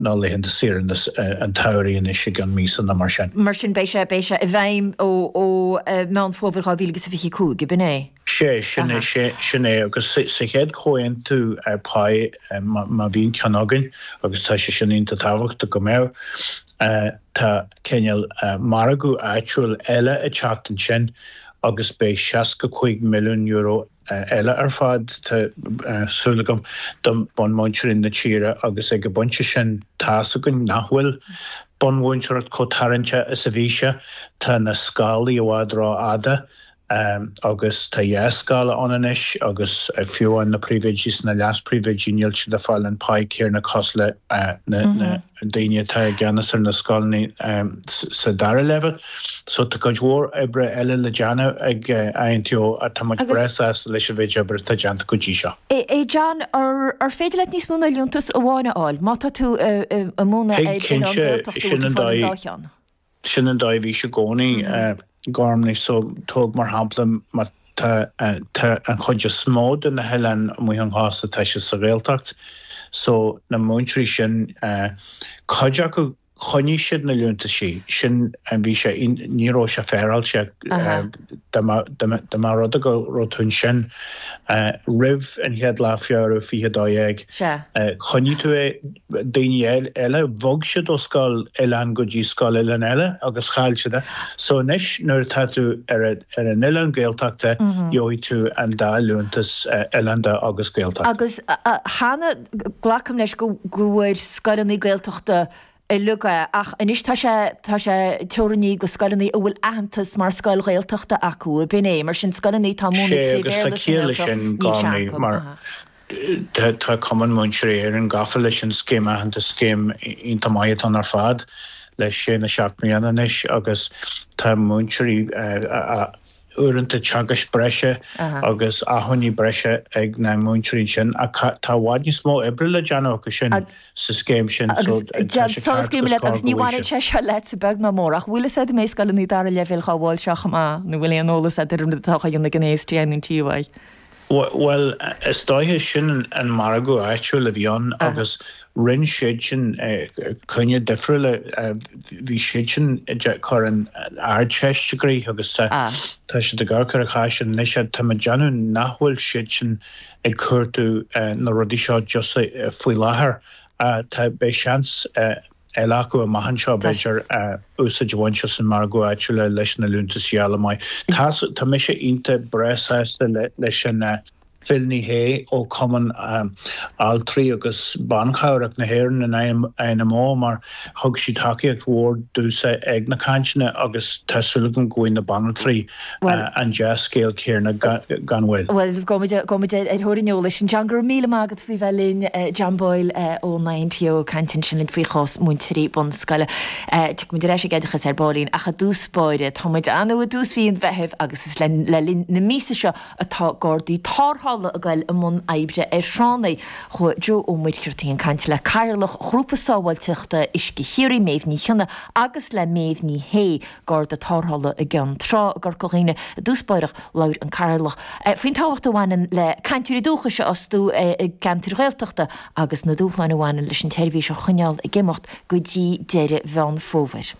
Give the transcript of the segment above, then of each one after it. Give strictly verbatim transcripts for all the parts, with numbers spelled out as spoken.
ná laethanta saoire an tsamhraidh anois i gceann míosa nó mar sin. Mar sin beidh sé beidh sé i bhfeidhm ó ó Meán Fómhair dhá mhíle agus a fiche cúig, ab in é? Sé, sin é, sé, sin é agus sa chéad chomhaontú páí má bhíonn ceann againn agus tá sé sin iontach tábhachtach go mbeadh, tá cineál margadh áitiúil eile ag teacht ansin agus beidh seasca cúig milliún euro eile ar fad, tá súil agam, do bunmhúinteoirí na tíre agus ag an bpointe sin tá's againn nach bhfuil bunmhúinteoireacht chomh tarraingteach is a bhí sé, tá na scálaí i bhfad rófhada agus tá dhá scála ann anois agus fiú amháin na príomhoidí is na leas-phríomhoidí níl siad ag fáil an pá céanna cosúil le na daoine atá i gceannas ar na scoileanna sa dara leibhéal. So tá cuid mhór oibre eile le déanamh ag INTO ach tá muid breá sásta leis an mhéid oibre atá déanta go dtí seo. A John, ar féidir leat níos mó ná liúntas amháin a fháil má tá tú ag múineadh ar oileán Gaeltachta bhfuil tú ag fáil an dá cheann? Sin an dóigh a bhí sé i gcónaí. Gormley, so tóg mar shampla má tá tá an chuid is mó de na hoileáin amuigh ón chósta tá siad sa Ghaeltacht so na múinteoirí sin cuid acu choinnigh siad na liúntaisí sin bhí sé ní raibh sé féaráilte dá mba dá mba rud é go raibh tú ansin roimh an chéad lá Feabhra fiche dó dhéag choinnigh tú é daoine eile bhog siad ó scoil oileáin go dtí scoil oileáin eile agus chaill siad é. So anois nuair atá tú ar ar an oileán Gaeltachta gheobhaidh tú an dá liúntas oileánda agus Gaeltachta. Agus cheana glacaim leis go go bhfuair scoileanna Gaeltachta uilig é ach anois tá sé tá sé teorannaithe go scoileanna a bhfuil aitheantas mar scoil Ghaeltachta acu, ab in é? Mar sin scoileanna atá ag múineadh Sé trí agus tá Bhéarla sa ciall leis nGaeltacht sin níl sé Gormley acu. mar Aha. Tá Cumann Múinteoirí Éireann gafa leis an scéim aitheantais, scéim iontach maith atá ann ar fad le sé nó seacht mbliana anois agus tá múinteoirí uaireanta teagaisc breise agus acmhainní breise ag na múinteoirí sin ach tá i bhfad níos mó oibre le déanamh acu sin sa scéim sin so tá sé ceart agus cóir Agus ní go bhfuil bhaineann siad. sé seo leatsa beag ná mór ach bhfuil fhios a'd an mbeidh scoileanna dara leibhéal dhá bhfáil seo chomh maith nó bhfuil aon eolas a'd ar an rud atá á dhéanamh ag an ASTI nó an TUI? Bhuel, is dóiche, sin an margadh áitiúil a bhí ann agus rinne siad sin coinne difriúla, bhí siad sin ag cur an Ardteist i gcrích agus tá siad ag amharc ar an chás sin anois. Tá mé ag déanamh nach bhfuil siad sin ag cuartú na rudaí seo just faoi láthair. Tá, beidh seans eile acu amach anseo, b'fhéidir, úsáid a bhaint as an margadh áitiúil leis na liúntais a fháil amach. Tá, tá mise iontach breá sásta leis an Phil Ní Sheaghdha ó Chumann Altraí agus Banchabhrach na hÉireann, an INMO, mar thug siad tacaíocht mhór domhsa ag na cainteanna agus tá súil agam go bhfaighidh na banaltraí an dea-scéal céanna gan mhoill. Bhuel, gabhfaidh muid ar thóir an eolais. John, go raibh míle maith agat faoi bheith linn. John Boyle ón INTO ag caint ansin linn faoi chás múinteoirí bunscoile. Tiocfaidh muid ar ais ag oideachas ar baillín ach i dtús báire, tá muid ann i dtús mhí an Mheithimh agus is le linn na míosa seo atá Gardaí Tarrthála ag goil i mbun oibre ar thránna. Chuaigh Joe Ó Muircheartaigh ag caint le Cathaoirleach Ghrúpa Sábháilteachta Uisce Chiarraí, Méabh Ní Chionnaith agus le Méabh Ní Shé, Garda Tarrthála i gCeann Trá i gCorca Dhuibhne. I dtús báire, labhair an Cathaoirleach faoin tábhacht a bhaineann le cainteoirí dúchais a fhostú i gceantair Ghaeltachta agus na dúshláin a bhaineann leis an tseirbhís a choinneáil ag imeacht go dtí deireadh Mheán Fómhair.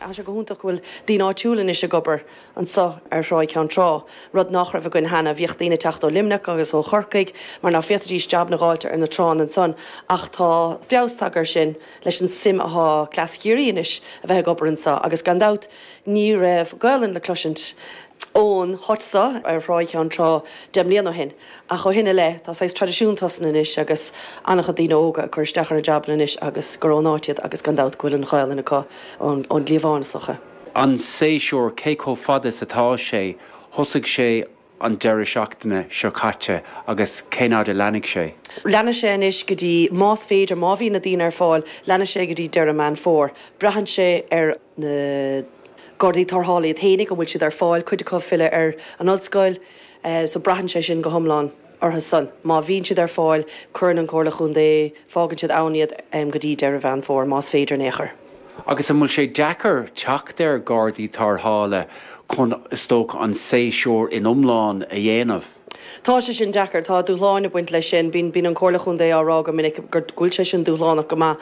Tá sé go hiontach go bhfuil daoine áitiúla anois ag obair anseo ar Thráigh Cheann Trá, rud nach raibh againn cheana. Bhíodh daoine ag teacht ó Luimneach agus ó Chorcaigh mar ná féadfaidís jabanna a dh'fháilt ar na tránna ansan ach tá feabhas tagtha air sin leis an suim athá cleas Chiarraí anois a bheith ag obair anseo agus gan dabht ní raibh Gaolainn le cloisint ón háit so ar Thráigh Cheann Trá deich mbliana ó shin. Ach ó shin i leith, tá saghas traidisiún tosnaithe anois agus an-chuid daoine óga ag cur isteach ar na jabanna anois agus gur ón áit iad agus gan dabht go bhfuil an Ghaolainn acu ón gcliabhán is dócha. An séasúr, cé chomh fada is atá sé? Thosaigh sé an deireadh seachtaine seo caite agus cén fhad a leanfaidh sé? Leanfaidh sé anois go dtí, más féidir, má bhíonn na daoine ar fáil, leanfaidh sé go dtí deireadh Meán Fómhair. Braitheann sé ar na Gardaí Tarrthála iad fhéinig, an bhfuil siad ar fáil, cuid acu ag filleadh ar an ollscoil, so braitheann sé sin go hiomlán orthu san. Má bhíonn siad ar fáil, cuireann an Chomhairle Chontae, fágann siad ann iad go dtí deireadh Mheán Fómhair, más féidir in aon chor. Agus an bhfuil sé deacair teacht ar Ghardaí Tarrthála chun, is dócha, an séasúr in iomlán a dhéanamh? Tá sé sin deacair tá dúshláin ag baint leis sin, bíonn bíonn an Comhairle Chontae á rá go minic gur bhfuil sé sin dúshlánach go maith